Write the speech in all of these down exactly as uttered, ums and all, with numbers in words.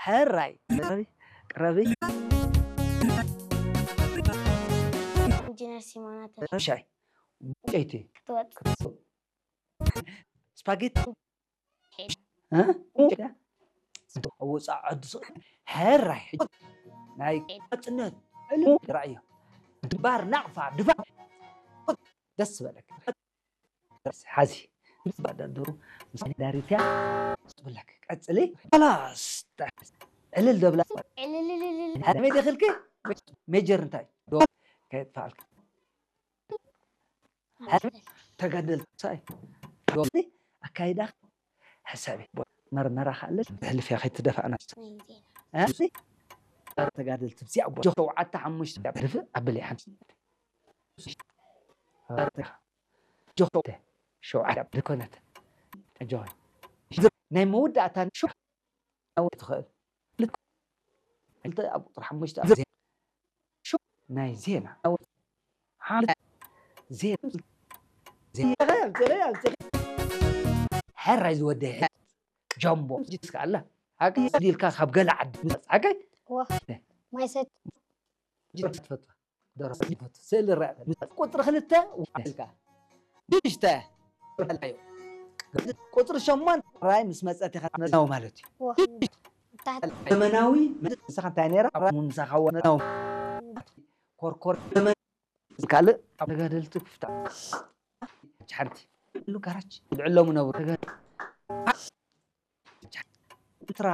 ሕራይ። ቅረቢ፣ ቅረቢ። ኢንጂነር ሲሞና ተፈ- ሻይ። ቡጨይቲ። ክትወጽእ። ስፓጌቲ። እ? ውጻእ ዐዱ ስ-፣ ሕራይ። ናይ ናጽነት ዕልል ራእዮ። ግንባር ናቕፋ ድፋዕ። ደስ በለክ። ሓዚ ምስ ባዳደሩ ምስ ዳሪትያ ትብለክ ቀጽሊ። ኸላስ ዕልል ደብላ። ዕልልልልል። ሀመይ ደኽልኪ ሜጀር እንታይ ዶ ከየጥፋልክ ተጋደል ሳይ ዶ ኣካይዳ ሕሳቢ መርመራ ካለ ህልፍ ያኸይ ትደፋእና ተጋደል ትብዚያ ሸውዓተ ሓሙሽተ ህልፍ ኣብል ሓንቲ ጆ ሸውዓት ድኮነት ጆን ናይ መወዳእታ ሹ ኣወ ትኽእል ልክ እንተ ኣብ ቁጥር ሓሙሽተ ኣብ ዜና ሹ ናይ ዜና ኣወ ሓ- ዜና ዜና ሕራይ ዝወደ ጀምቦ ጅትስካ ኣላ ሓቂ ዲልካ ካብ ገለ ዓዲ ምጽእ ሓቂ ወህ ማይ ሰት ጅትፈቱ ደረሰ ይፈቱ። ስእሊ ረአ። ቁጽሪ ክልተ ውልካ። ሽዱሽተ። ቁጽሪ ሸሞንተ ራይ ምስ መጸት ኢኻ ትመጽእ ማለት እዩ። ወህ ታሕት ዘመናዊ ምሳኻ እንታይ ነይራ? ራይ ምሳኻ ወ-፣ ኮርኮር ዘመን ካልእ ኣብ ተጋደልቲ ክፍታ። ሓንቲ። ኩሉ ጋራጅ ልዕሎሙ ነብሩ። ተጋ-፣ ኤርትራ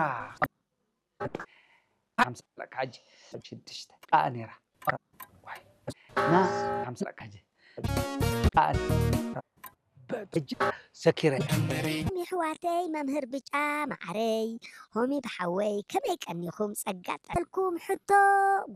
ሓምሳ ለካ ሕጂ ሽዱሽተ ቃ ነይራ። ና ሓምሳ ለካ ሕጂ ቃ በእጅ ሰኪረ። የሕዋተይ መምህር ብጫ ማዓረይ ሆሚ ብሓወይ ከመይ ቀኒኹም? ጸጋ ጠልኩም ሕቶ